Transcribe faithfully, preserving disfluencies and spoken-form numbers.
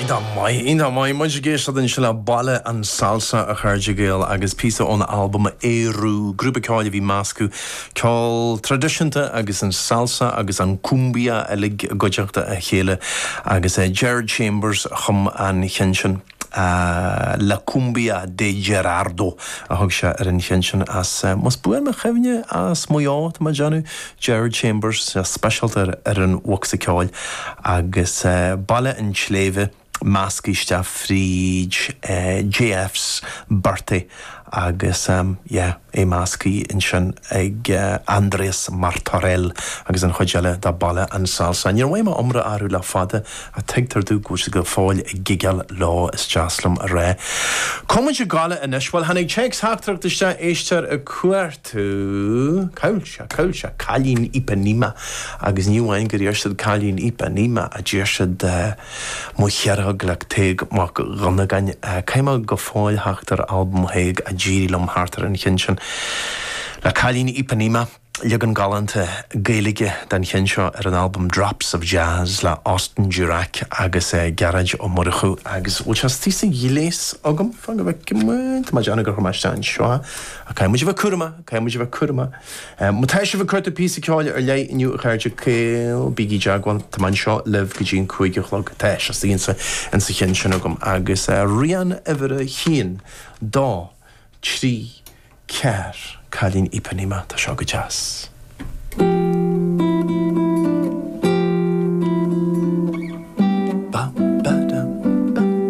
Iontach maith, iontach maith, muid ag éisteacht ansin le Baile an Salsa a chairde Gael agus píosa ón albam Éiriú, grúpa ceoil a bhí meascadh ceol traidisiúnta agus an salsa agus an cumbia uilig i gcuideachta a chéile agus eh, Gerard Chambers a chum an cheann sin. Uh, La Cumbia de Gerardo a thug sé ar an cheann sin as uh, más buan mo chuimhne as Maigh Eo tá mé ag déanamh Gerard Chambers speisialta ar an bhocsa ceoil agus uh, Baile an tSléibhe measctha isteach fríd uh, JF's Birthday agus um, yeah, é measctha ansin ag uh, Andrés Martorell agus an chuid eile de Baile an Salsa. Níor mhaith iomrá orthu le fada a tuigtear domh go go fóill ag gigeáil lá is deas liom a rá. Comuid gála inis bhfuil tháinig téacs-theachtaireacht isteach éisteoir ag cuartú Cáilte Cáilte Cailín Ipanema agus ní amháin gur iarr siad Cailín Ipanema a d'iarr siad uh, Mo Chearnóg le Tadhg Mac Dhonnagáin uh, Caithfidh go fóill theacht ar albam Thaidhg a d'éirigh liom thart ar an cheann sin. Le Cailín Ipanema leagan galánta Gaeilge den cheann seo ar an albam Drops of Jazz le Austin Durack agus uh, Gearóid Ó Murchú agus bhfuil sé tí sa ghléas agam fan go bhfeicfidh má deanna gur chumáiste an seo a cai mu bheith cuama cai mu bheith cuama. Má tá sibh ag cuartú píosa ceoil ar leith inniu a chairde Gael bígí i dteagmháil tá mé anseo libh go dtí an cúig a chlog tá sé insa insa cheann sin agam agus uh, rian uimhir a haon dó trí ceathair Cailín Ipanema tá seo go deas.